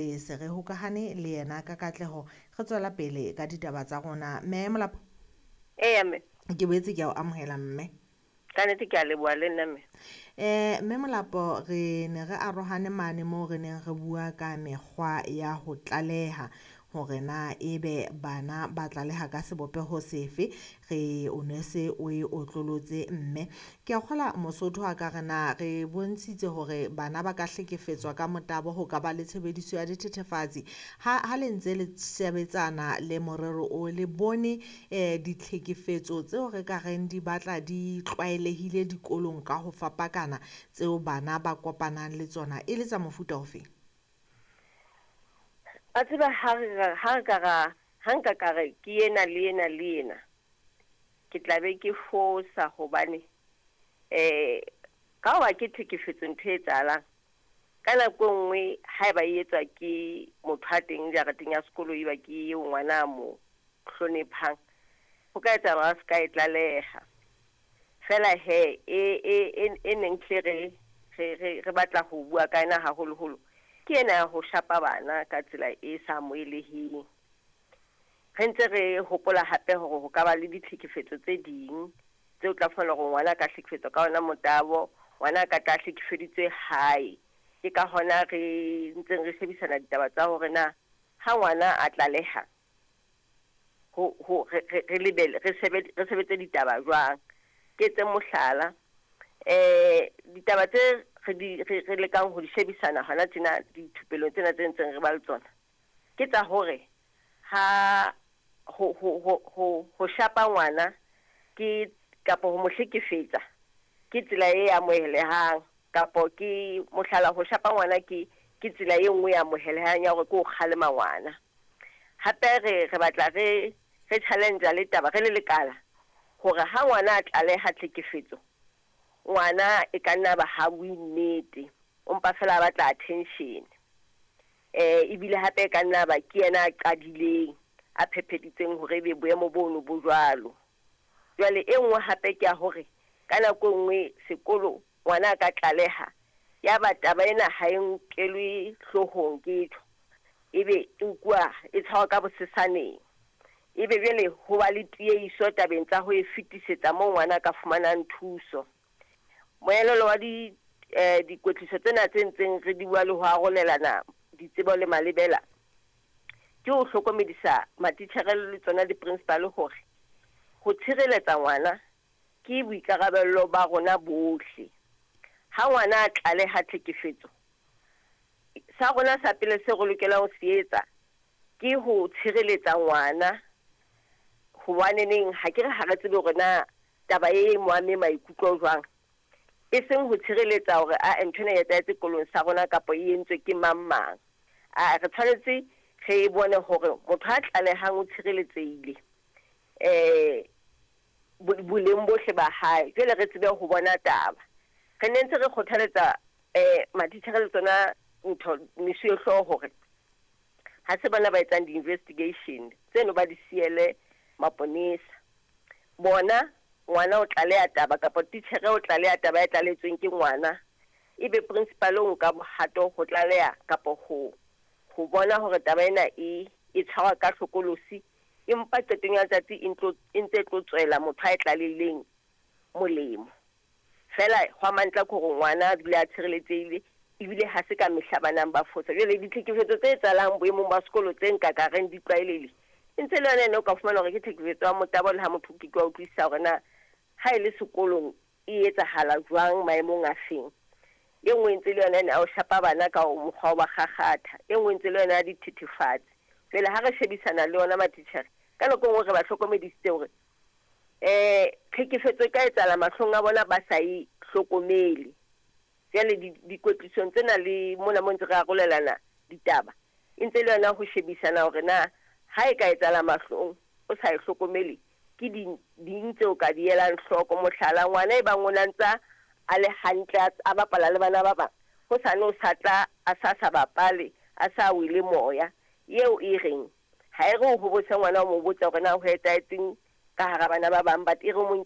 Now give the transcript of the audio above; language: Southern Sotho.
Se re hokahane le yena ka katleho, re tswela pele ka ditaba tsa rona. Mme Molapo. Eya mme. Ke boetse ke a o amohela mme. Ka nnete ke a leboha le nna mme. Mme Molapo, re ne re arohane mane moo re neng re bua ka mekgwa ya ho tlaleha hore na ebe bana ba tlaleha ka sebopeho sefe. Re o ne se o e otlolotse mme. Ke a kgola Mosotho a ka re na re bontshitse hore bana ba ka hlekefetswa ka motabo, ho ka ba le tshebediso ya dithethefatsi. Ha le ntse le sebetsana le morero o le bone ditlhekefetso tseo re ka reng di batla di tlwaelehile dikolong ka ho fapakana tseo bana ba kopanang le tsona e le tsa mofuta ofe? A tseba ha re ha re ka ra ha nka ka re ke ena le ena le ena, ke tla be ke fosa hobane ka hoba ke tlhekefetso ntho e etsahalang ka nako e nngwe, haeba e etswa ke motho a teng jareteng ya sekolo, eba ke eo ngwana a mo hloniphang, ho ka etsahala hore a se ka e tlaleha. Fela he e neng hle re batla ho bua ka yona haholoholo ke ena ya ho shapa bana ka tsela e sa amoheleheng. Re ntse re hopola hape hore ho ka ba le ditlhekefetso tse ding tseo tla fumana hore ngwana a ka hlekefetswa ka ona motabo, ngwana a ka tla hlekefeditswe hae. Ke ka hona re ntseng re shebisana ditaba tsa hore na ha ngwana a tlaleha ho re lebele re sebetse ditaba jwang. Ke etse mohlala, ditaba tse re lekang ho di shebisana hona tjena dithupelong tsena tse ntseng re ba le tsona, ke tsa hore ha ho shapa ngwana ke kapa ho mo hlekefetsa ke tsela e amohelehang, kapo ke mohlala ho shapa ngwana ke tsela e nngwe e amohelehang ya hore ke ho kgalema ngwana. Hape re batla re challenge le taba re le lekala hore ha ngwana a tlaleha tlhekefetso, ngwana e ka nna ba ha bue nnete, o mpa fela a batla attention. Ebile hape e ka nna ba ke yena a qadileng a phepheditseng hore ebe boemo bono bo jwalo. Jwale e nngwe hape ke ya hore ka nako e nngwe sekolo ngwana a ka tlaleha, ya ba taba ena ha e nkelwe hloohong ke tjho, ebe e nkuwa e tshwarwa ka bosesaneng. Ebe jwale ho ba le tiehiso tabeng tsa ho e fetisetsa moo ngwana a ka fumanang thuso. Moelelo wa dikwetliso tsena tse ntseng re di bua le ho arolelana ditsebo le malebela, ke ho hlokomedisa matitjhere le tsona di-principal hore ho tshireletsa ngwana ke boikarabello ba rona bohle. Ha ngwana a tlaleha tlhekefetso, sa rona sa pele se re lokelang ho se etsa ke ho tshireletsa ngwana, hobaneneng ha ke re ha re tsebe hore na taba e mo ame maikutlo jwang. E seng ho tshireletsa hore a ntho ena e etsahetse sekolong sa rona kapa e entswe ke mang mang. A re tshwanetse re bone hore motho a tlalehang o tshireletsehile boleng bohle ba hae. Jwale re tsebe ho bona taba. Re ne ntse re kgothaletsa matitjhere le tsona ntho mesuwehlooho hore ha se bona ba etsang di-investigation tseno ba di siele maponesa. Bona ngwana o tlaleha taba kapa titjhere o tlaleha taba e tlaletsweng ke ngwana, ebe principal o nka bohato ho tlaleha kapa ho bona hore taba ena e tshwarwa ka hlokolosi, empa qetong ya letsatsi e ntse tlo tswela motho a e tlalehileng molemo. Fela hwa mantla ke hore ngwana a dule a tshireletsehile, ebile ha se ka mehla banang ba fosa. Jwale ditlhekefetso tse etsahalang boemong ba sekolo tse nka ka reng di tlwaelehile, e ntse le yona ene o ka fumana hore ke tlhekefetso ya motabo, le ha motho ke wa utlwisisa hore na ha e le sekolong e etsahala jwang maemong a feng. E nngwe ntse le yona ene a o shapa bana ka mokgwa wa ba kgakgatha, e nngwe ntse le yona ya dithethefatsi. Jwale ha re shebisana le yona matitjhere, ka nako e nngwe re ba hlokomedisitse hore tlhekefetso e ka etsahala mahlong a bona ba sa e hlokomele. Jwale dikwetlisong tsena le mona mo ntse re arolelana ditaba, e ntse le yona ho shebisana hore na ha e ka etsahala mahlong o sa e hlokomele, ke ding tseo ka di elang hloko. Mohlala, ngwana e bang o na ntsa a le hantle a bapala le bana ba bang, hosane o sa tla a sa bapale, a sa wele moya, eo e reng ha e re o hobose ngwana o mo botsa hore na ho etsahetseng ka hara bana ba bang, but e re mo